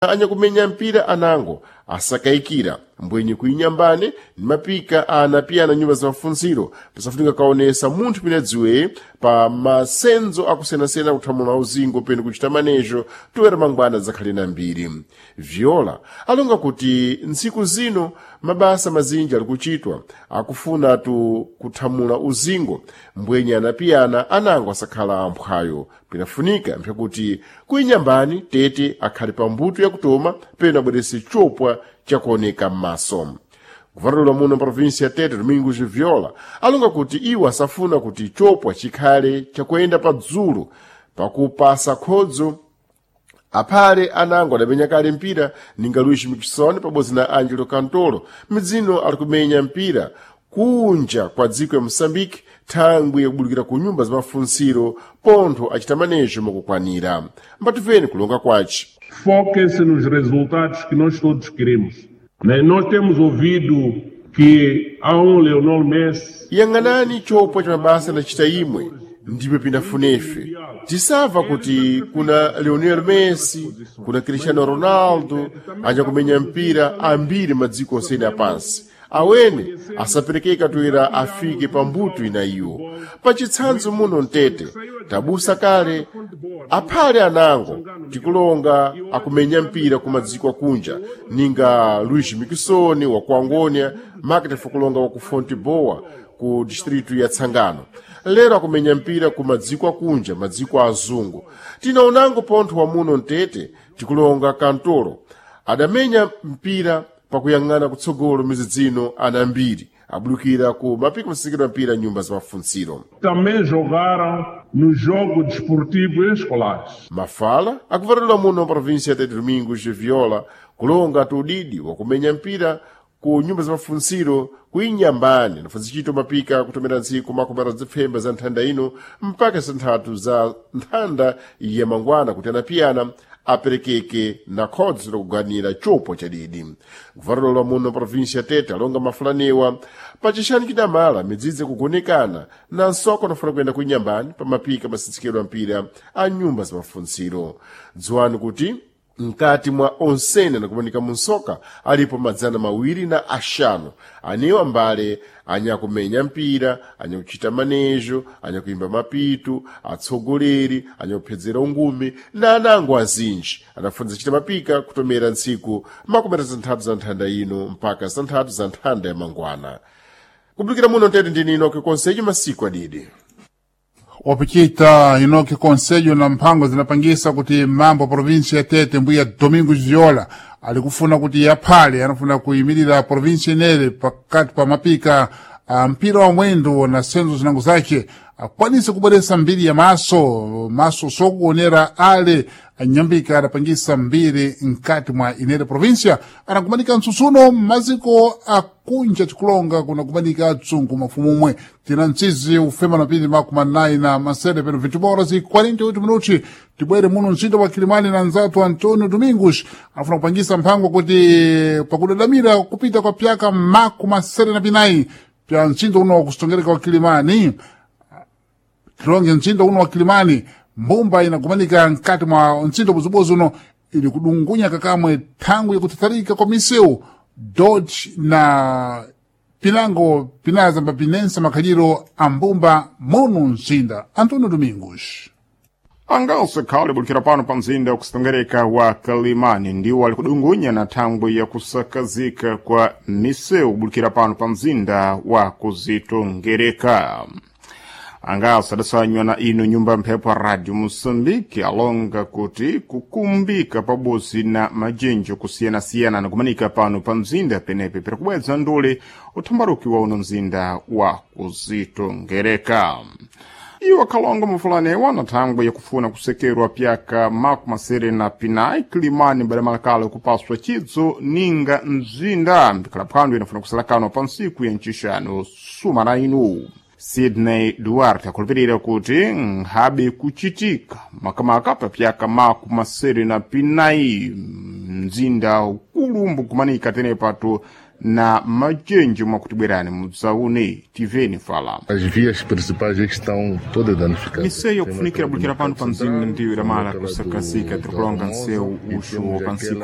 Anyakumenya mpira anango asakayikira mbwenye kuinyambane ni mapika anapiyana nyumba za mafunziro pasafunika kaonesa munthu pene adziweye pa masenzo akusiyanasiyana kuthamula uzingo pene kuchita manejo toera mangwana zakhale na mbiri. Viola alonga kuti ntsiku zino mabasa mazinji ali kuchitwa akufuna tu kuthamula uzingo mbwenye anapiyana anango asakhala amphwayo pinafunika mpyakuti kuinyambani tete akhale pa mbuto yakutoma pene abwerese chopwa chakuoneka m'maso. Kuvatulula muno provinsi ya Tete Domingos Viola alonga kuti iwo asafuna kuti chopwa chikhale chakuyenda padzulu pakupasa khodzo aphale anango adamenya kale mpira ninga Luís Miquissone pabodzi na Angelo Cantolo midzino ali kumenya mpira kunja kwa dziko ya Moçambique thangwi yakubulukira ku nyumba za mafunsiro pontho achita manejo mokukwanira. Mbatuveni kulonga kwace. Foquem-se nos resultados que nós todos queremos. Né? Nós temos ouvido que há um Leonel Messi. Yang'anani chopwa cha mabasa anachita imwe ndipo pinafunefe tisamva kuti kuna Lionel Messi kuna Cristiano Ronaldo anyakumenya mpira ambiri madziko osene apansi awene asaperekeka toera afike pa mbuto ina iwo pachitsanzo muno mtete tabusa kale aphale anango tikulonga akumenya mpira ku madziko akunja ninga Luís Miquissone wa ku Angônia Makete kulonga wa ku Fonteboa ku distritu ya Tsangano lero akumenya mpira ku madziko akunja madziko azungu tinaonango pontho wa muno mtete tikulonga Kantolo adamenya mpira pakuyang'ana kutsogolo mizidzino ana ambiri abulukira ku mapiko masikidwa mpira nyumba za mafunsiro. Também jogaram nos jogos desportivos escolares. Mafala akuvatulula muno província ya Tete Domingos de Viola kulonga tudidi wakumenya mpira ku nyumba za mafunsiro ku Inyambani nafunzichito mapika kutomera ntsiku makomera zipfemba za nthanda ino mpaka santhatu za nthanda ya mangwana kuti anapiyana aperekeke na khodzo lakuganira chopwa chadidi. Kuvatulula muno província ya Tete alonga mafulanewa pachixanu chidamala midzidzi kugonekana na nsoko anafuna kuyenda ku Inyambani pa mapika masitsikidwa mpira a nyumba za mafunsiro. Dziwani kuti mkati mwa onsene anakumanika munsoka alipo 205 anewa mbale anyakumenya mpira anyakuchita manejo anyakuimba mapitu atsogoleri anyakuphedzera ungumi na anango azinji adafunza chita mapika kutomera ntsiku 36 za nthanda ino mpaka 6 za nthanda ya mangwana. Kubulukira muno mtete ndini Inoke Konselho masiku adidi. Wapichita Inoki Conselho na mphango zinapangisa kuti mambo província ya Tete mbuya Domingos Viola alikufuna kuti yaphale anafuna kuyimirira província inere pakati pa mapika a mpira wa mwendo na senzo zinango zace akwanise kubweresa mbiri ya maso maso sokuonera ale anyambika adapangisa mbiri mkati mwa inere província anakumanika mtsutsuno maziko akunja tikulonga kunakumanika atsungu mafumu umwe tina mtsizi ufema na pindi makumi anayi na masere peno 20 horas e 48 minuti tibwere muno mzinda wa Kilimani na nzatu Antonio Domingos anafuna kupangisa mphango kuti pakudadamira kupita kwa pyaka makumi masere na pinayi pya mzinda uno wakusongereka wa Kilimani tilonge mzinda uno wa Kilimani mbumba inakumanika mkati mwa mzinda buzubuzu uno ili kudungunya kakamwe thangwi yakuthatharika kwa misewu Dodge na pinango pinazamba pinensa makhaliro a mbumba muno mzinda. Antonio Domingos Angalso khale bulikira pano pa mzinda wakusitongereka wa Kalimani ndiwo ali kudungunya na thangwi ya kusakazika kwa misewu bulikira pano pa mzinda wa kuzitongereka. Angaso adasanywa na ino nyumba mphepo Radio Moçambique alonga kuti kukumbika pabozi na majenjo kusiyanasiyana nakumanika pano pa mzinda penepe pirikubwedza ndule uthambaruki wa uno mzinda wa kuzitongereka. Iwo akalonga mafulanewa na thangwi yakufuna kusekerwa pyaka 75 Kilimani badamalakale kupaswa chidzo ninga mzinda mbikhala phwando inafuna kusalakanwa pa ntsiku ya ncixano sumana inu. Sidney Duarte akhulupirira kuti nkhabe kuchitika makamaka pa pyaka 74 mzinda ukulu mbukumanika tenepatu Na majenji mwakutibwerani mudzaune tiveni fala. As vias principais estão todas danificadas. Misewu kufunikira bulikira pano pa mzinda ndiyo idamala kusakazika tirikulonga nsewu uxu wa pansiku.